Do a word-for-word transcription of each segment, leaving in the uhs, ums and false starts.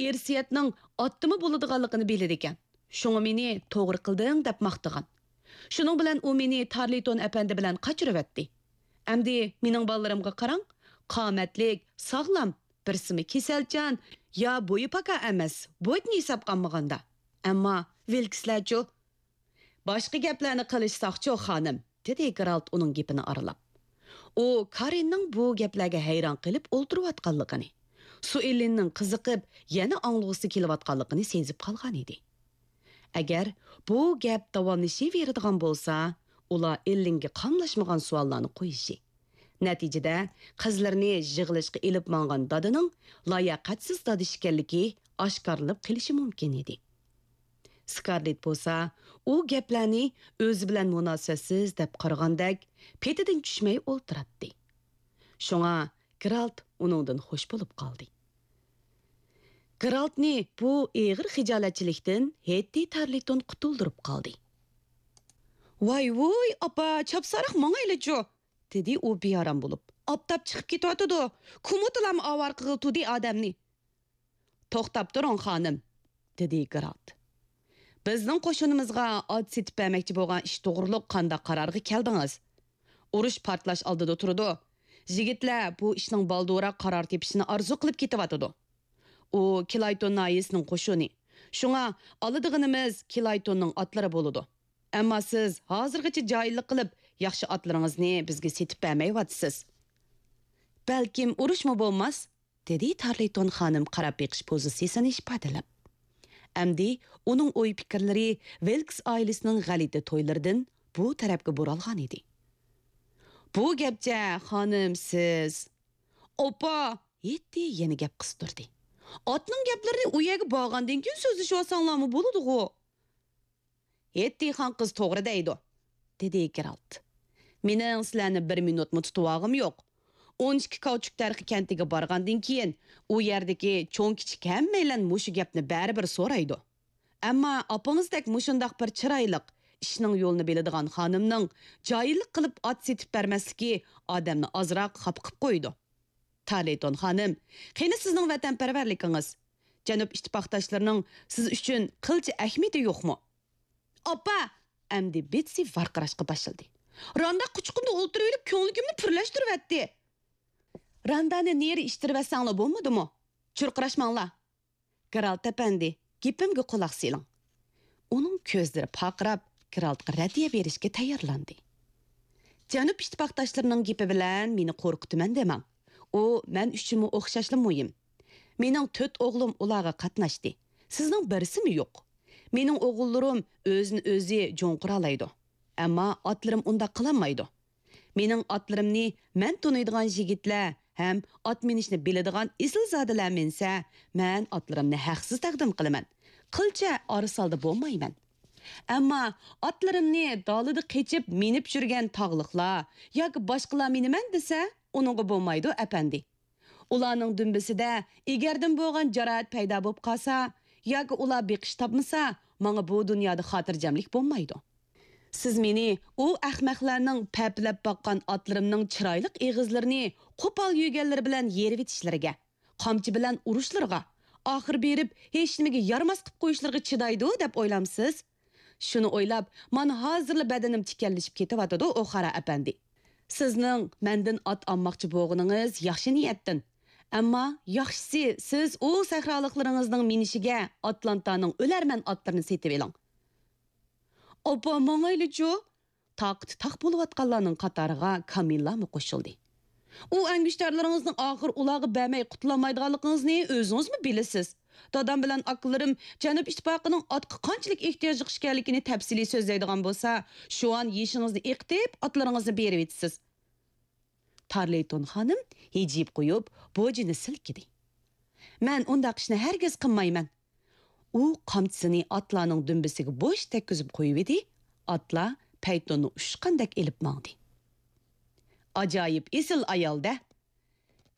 ئىرسىيەتنىڭ ئاتتىمۇ بولىدىغانلىقىنى بىلىدىكەن. شۇڭا مېنى توغرا قىلدىڭ دەپ ماختىغان. شۇنىڭ بىلەن ئۇ مېنى تارلىتون ئەپەندى بىلەن قاچۇرۇۋەتتى. ئەمدى مېنىڭ بالىلىرىمغا قاراڭ، قامەتلىك، ساغلام، بىرسىمۇ كېسەلچان، يا بويى پاكار ئەمەس، بويىدىن ھېسابقا ئالمىغاندا. ئەمما ۋىلكسلەرچۇ؟ باشقا گەپلەرنى قىلىشساقچۇ، خانىم، دېدى گېرالت ئۇنىڭ گېپىنى ئارىلاپ. ئۇ كارىننىڭ بۇ گەپلەرگە ھەيران قېلىپ ئولتۇرۇۋاتقانلىقىنى، سۇئېللىننىڭ قىزىقىپ يەنە ئاڭلىغۇسى كېلىۋاتقانلىقىنى سېزىپ قالغان ئىدى. ئەگەر بۇ گەپ داۋاملىشىۋېرىدىغان بولسا، ئۇلار ئېللىنگە قاملاشمىغان سوئاللارنى قويۇشى، نەتىجىدە قىزلىرىنى يىغىلىشقا ئېلىپ ماڭغان دادىنىڭ لاياقەتسىز دادا ئىكەنلىكى ئاشكارىلىنىپ قېلىشى مۇمكىن ئىدى. سكارلېت بولسا ئۇ گەپلەرنى ئۆزى بىلەن مۇناسىۋەتسىز دەپ قارىغاندەك پېتىدىن چۈشمەي ئولتۇراتتى. شۇڭا گېرالت ئۇنىڭدىن خوش بولۇپ قالدى. گېرالتنى بۇ ئېغىر خىجالەتچىلىكتىن ھېتتى تارلىتون قۇتۇلدۇرۇپ قالدى. ۋاي ۋۇي، ئاپا، چاپسانراق ماڭايلىچۇ، دېدى ئۇ بىئارام بولۇپ. ئاپتاپ چىقىپ كېتىۋاتىدۇ. كۇمۇتىلام ئاۋارە قىلغىلى تۇردى ئادەمنى. توختاپ تۇرۇڭ، خانىم، دېدى گېرالت. بىزنىڭ قوشۇنىمىزغا ئات سېتىپ بەرمەكچى بولغان ئىش توغرۇلۇق قانداق قارارغا كەلدىڭىز؟ ئۇرۇش پارتلاش ئالدىدا تۇرىدۇ. يىگىتلەر بۇ ئىشنىڭ بالدۇرراق قارار تېپىشىنى ئارزۇ قىلىپ كېتىۋاتىدۇ. ئۇ كىلايتون ناھىيىسىنىڭ قوشۇنى. شۇڭا ئالىدىغىنىمىز كىلايتوننىڭ ئاتلىرى بولىدۇ. ئەمما سىز ھازىرغىچە جاھىللىق قىلىپ، ياخشى ئاتلىرىڭىزنى بىزگە سېتىپ بەرمەيۋاتىسىز. بەلكىم ئۇرۇشمۇ بولماس؟ دېدى تارلىتون خانىم قاراپ بېقىش پوزىتسىيىسىنى ئىپادىلەپ. ئەمدى ئۇنىڭ ئوي-پىكىرلىرى ۋىلكس ئائىلىسىنىڭ غەلىتە تويلىرىدىن بۇ تەرەپكە بۇرالغان ئىدى. بۇ گەپچە، خانىم، سىز. ئاپا! ھېتتى يەنە گەپ قىستۇردى. ئاتنىڭ گەپلىرىنى ئۇ يەرگە بارغاندىن كېيىن سۆزلىشىۋالساڭلارمۇ بولىدىغۇ. ھېتتى خان قىز توغرا دەيدۇ، دېدى گېرالت. مېنىڭ سىلەرنى بىر مىنۇتمۇ تۇتۇۋالغۇم يوق. ئون ئىككى كاۋچۇك تەرىقى كەنتىگە بارغاندىن كېيىن، ئۇ يەردىكى چوڭ-كىچىك ھەممەيلەن مۇشۇ گەپنى بەرىبىر سورايدۇ. ئەمما ئاپىڭىزدەك مۇشۇنداق بىر چىرايلىق، ئىشنىڭ يولىنى بىلىدىغان خانىمنىڭ جاھىللىق قىلىپ ئات سېتىپ بەرمەسلىكى ئادەمنى ئازراق خاپا قىپ قويىدۇ. تارلىتون خانىم، قېنى سىزنىڭ ۋەتەنپەرۋەرلىكىڭىز؟ جەنۇب ئىتتىپاقداشلىرىنىڭ سىز ئۈچۈن قىلچە ئەھمىيىتى يوقمۇ؟ ئاپا! ئەمدى بېتسى ۋارقىراشقا باشلىدى. راندا قۇچىقىمدا ئولتۇرۇۋېلىپ كۆڭلىكىمنى پۈرلەشتۈرۈۋەتتى. راندانى نېرى ئىتتىرىۋەتسەڭلار بولمىدىمۇ؟ چۇرقىراشماڭلار. گېرالت ئەپەندى، گېپىمگە قۇلاق سېلىڭ. ئۇنىڭ كۆزلىرى پارقىراپ، گېرالتقا رەددىيە بېرىشكە تەييارلاندى. جەنۇب ئىتتىپاقداشلىرىنىڭ گېپى بىلەن مېنى قورقۇتىمەن دېمەڭ. ئۇ مەن ئۈچۈنمۇ ئوخشاشلا مۇھىم. مېنىڭ تۆت ئوغلۇم ئۇلارغا قاتناشتى. سىزنىڭ بىرسىمۇ يوق. مېنىڭ ئوغۇللىرىم ئۆزىنى ئۆزى جوڭقۇرالايدۇ. ئەمما ئاتلىرىم ئۇنداق قىلالمايدۇ. مېنىڭ ئاتلىرىمنى مەن تونۇيدىغان يىگىتلەر ھەم ئات مىنىشنى بىلىدىغان ئېسىلزادىلەر مىنسە، مەن ئاتلىرىمنى ھەقسىز تەقدىم قىلىمەن. قىلچە ئارىسالدا بولمايمەن. ئەمما ئاتلىرىمنى دالىدا قېچىپ مىنىپ يۈرگەن تاغلىقلار ياكى باشقىلار مىنىمەن دېسە، ئۇنىڭغا بولمايدۇ، ئەپەندى. ئۇلارنىڭ دۈمبىسىدە ئېگەردىن بولغان جاراھەت پەيدا بولۇپ قالسا ياكى ئۇلار بېقىش تاپمىسا، ماڭا بۇ دۇنيادا خاتىرجەملىك بولمايدۇ. سىز مېنى ئۇ ئەخمەقلەرنىڭ پەپىلەپ باققان ئاتلىرىمنىڭ چىرايلىق ئېغىزلىرىنى قوپال يۆگەنلىرى بىلەن يېرىۋېتىشلىرىگە، قامچا بىلەن ئۇرۇشلىرىغا، ئاخىر بېرىپ ھېچنېمىگە يارىماس قىپ قويۇشلىرىغا چىدايدۇ دەپ ئويلامسىز؟ شۇنى ئويلاپ، مانا ھازىرلا بەدىنىم تىكەنلىشىپ كېتىۋاتىدۇ، ئوخارا ئەپەندى. سىزنىڭ مەندىن ئات ئالماقچى بولغىنىڭىز ياخشى نىيەتتىن. ئەمما ياخشىسى، سىز ئۇ سەھرالىقلىرىڭىزنىڭ مىنىشىگە ئاتلانتانىڭ ئۆلەرمەن ئاتلىرىنى سېتىۋېلىڭ. ئاپا، ماڭايلىچۇ؟ تاقىتى تاق بولۇۋاتقانلارنىڭ قاتارىغا كامىللامۇ قوشۇلدى. ئۇ ئەڭگۈشتەرلىرىڭىزنىڭ ئاخىر ئۇلارغا بەرمەي قۇتۇلالمايدىغانلىقىڭىزنى ئۆزىڭىزمۇ بىلىسىز. دادام بىلەن ئاكىلىرىم جەنۇب ئىتتىپاقىنىڭ ئاتقا قانچىلىك ئېھتىياجلىق ئىكەنلىكىنى تەپسىلىي سۆزلەيدىغان بولسا، شۇئان يېشىڭىزنى ئېقىتىپ، ئاتلىرىڭىزنى بېرىۋېتىسىز. تارلېيتون خانىم ھىجىيىپ قويۇپ، بوجىنى سىلكىدى. مەن ئۇنداق ئىشنى ھەرگىز قىلمايمەن. ئۇ قامچىسىنى ئاتلارنىڭ دۈمبىسىگە بوش تەگكۈزۈپ قويۇۋىدى، ئاتلار پەيتۇننى ئۇچقاندەك ئېلىپ ماڭدى. ئاجايىپ ئېسىل ئايال-دە!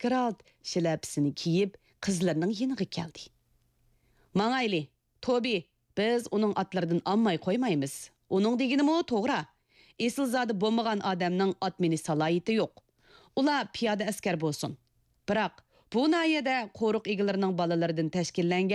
گېرالت شىلەپىسىنى كىيىپ، قىزلىرىنىڭ يېنىغا كەلدى. ماڭايلى، توبى، بىز ئۇنىڭ ئاتلىرىدىن ئالماي قويمايمىز. ئۇنىڭ دېگىنىمۇ توغرا. ئېسىلزادە بولمىغان ئادەمنىڭ ئات مىنىش سالاھىيىتى يوق. ئۇلار پىيادە ئەسكەر بولسۇن. بىراق، بۇ ناھىيەدە قورۇق ئىگىلىرىنىڭ بالىلىرىدىن تەشكىللەنگەن